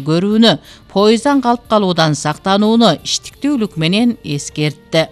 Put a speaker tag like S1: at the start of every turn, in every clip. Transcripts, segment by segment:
S1: көрүүнү, поезддан калып калуудан сактанууну иштиктүүлүк менен эскертти.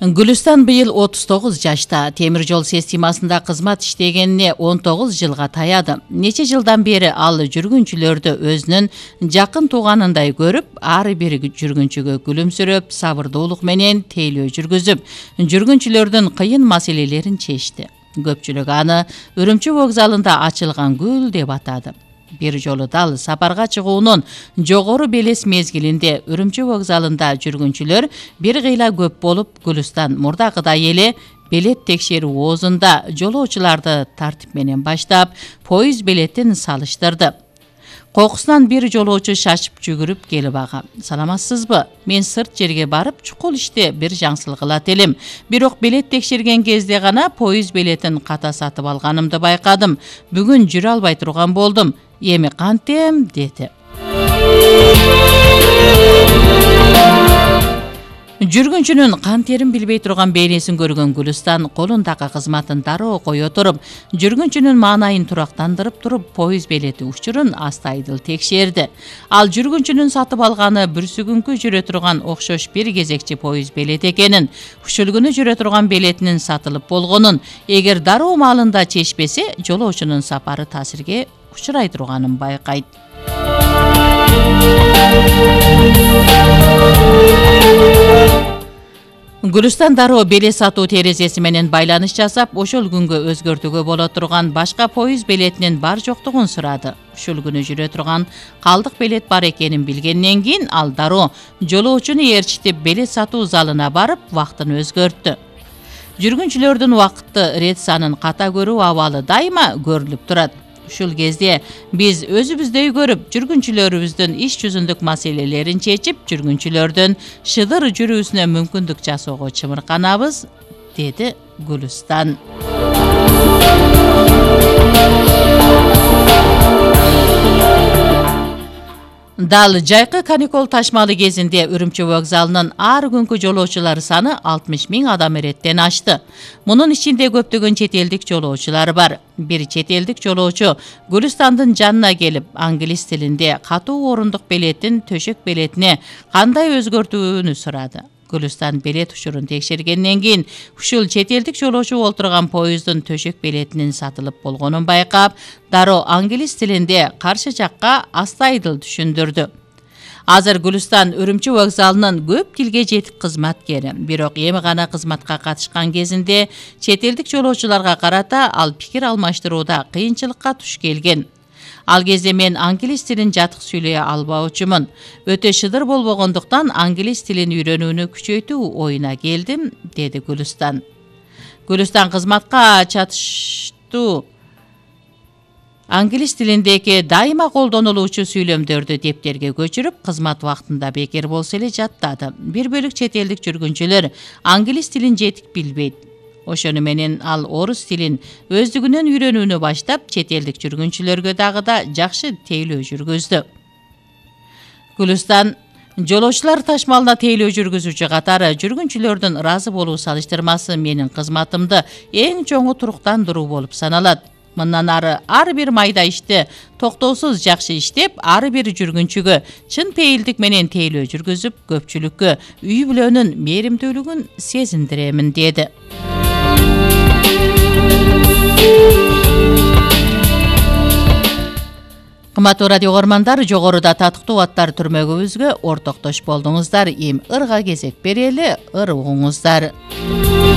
S1: Гүлүстан быйыл 39 жашта. Темир жол системасында кызмат иштегенине 19 жылга таяды. Нече жылдан бери ал жүргүнчүлөрдү өзүнүн жакын тууганындай көрүп, ар бир жүргүнчүгө күлүмсүрөп, сабырдуулук менен тейлөө жүргүзүп, жүргүнчүлөрдүн кыйын маселелерин чечти. Көпчүлүк аны Үрүмчү вокзалында ачылган гүл деп атады. Bir жолу дал сапарга чыгуунун жогору белес мезгилинде Үрүмчү вокзалында жүргүнчүлөр бир кыйла көп болуп, Гүлүстан мурдагыдай эле билет текшерүү оозунда жолоочуларды тартип менен баштап, поезд билетин салыштырды. Кокусунан бир жолоочу шашып жүгүрүп келип ага: "Саламатсызбы? Мен сырт жерге барып, чукул иште бир жаңсылык кылат элем. Бирок билет текшерген кезде гана поезд билетин ката сатып алганымды байкадым. Бүгүн жүрө албай турган болдум. Эми кантем?" деди. Жүргүнчүнүн кантерин билбей турган бейнесин көргөн Гүлүстан колундагы кызматын дароо кое туруп, жүргүнчүнүн маанайын турактандырып туруп, поезд билети учурун астайдыл текшерди. Ал жүргүнчүнүн сатып алганы бүрсүгүнкү жүрө турган окшош бир кезекчи поезд билети экенин, ушул күнү жүрө турган билетинин сатылып болгонун, эгер дароо маалында чечпесе, жолоочунун сапары таасирге учурай турганын байкайт. Гүлүстан дароо билет сатуу терезеси менен байланыш жасап, ошол күнгө өзгөртүүгө боло турган башка поезд билетинин бар жоктугун сурады. Ушул күнү жүрө турган калдык билет бар экенин билгенден кийин ал дароо жолоочуну ээрчитип билет сатуу залына барып, вактын өзгөрттү. Жүргүнчүлөрдүн убакытты рет санын ката көрүү абалы дайыма көрүлүп турат. Ушул кезде биз өзүбүздөй көрүп, жүргүнчүлөрүбүздүн иш жүзүндүк маселелерин чечип, жүргүнчүлөрдүн шыдыр жүрүүсүнө мүмкүндүк жасоого чымырканабыз, деди Гүлүстан. Дал жайкы каникул ташмалы кезинде Үрүмчү вокзалынын ар күнкү жолоочулар саны 60 000 адам эреттен ашты. Мунун ичинде көптөгөн чет элдик жолоочулар бар. Бир чет элдик жолоочу Гүлүстандын жанына келип, англис тилинде катуу орундук билетин төшөк билетине кандай өзгөртүүнү сурады. Гүлүстан билет учурун текшергенден кийин ушул чет элдик жолоочу олтурган поезддин төшөк билетинин сатылып болгонун байкап, дароо англис тилинде каршы жакка астайдыл түшүндүрдү. Азыр Гүлүстан Үрүмчү вокзалынын көп тилге жетик кызматкери. Бирок эми гана кызматка катышкан кезинде чет элдик жолоочуларга карата ал пикир алмаштырууда кыйынчылыкка туш келген. Ал кезде мен англис тилин жатык сүйлөй албаучумун. Өтө шыдыр болбогондуктан англис тилин үйрөнүүнү күчөйтүү оюна келдим, деди Гүлүстан. Гүлүстан кызматка чатыштуу англис тилиндеги дайыма колдонулуучу сүйлөмдөрдү дептерге көчүрүп, кызмат вактында бекер болсо эле жаттады. Бир бөлүк чет элдик жүргүнчүлөр англис тилин жетик билбейт. Ошону менен ал орус тилин өздүгүнөн үйрөнүүнү баштап, чет элдик жүргүнчүлөргө дагы да жакшы тейлөө жүргүздү. Гүлүстан жолоочулар ташмалына тейлөө жүргүзүүчү катары жүргүнчүлөрдүн ыраазы болуу салыштырмасы менин кызматымды эң чоңу туруктандыруу болуп саналат. Мындан ары ар бир майда ишти токтоосуз жакшы иштеп, ар бир жүргүнчүгө чын пейилдик менен тейлөө жүргүзүп, көпчүлүккө үй бүлөнүн мээримдүүлүгүн сезиндиремин, деди. Кымбаттуу радио көрөрмандар, жогоруда татыктуу аттар түрмөгүбүзгө ортоктош болдуңуздар. Эми ырга кезек берели, ыр угуңуздар.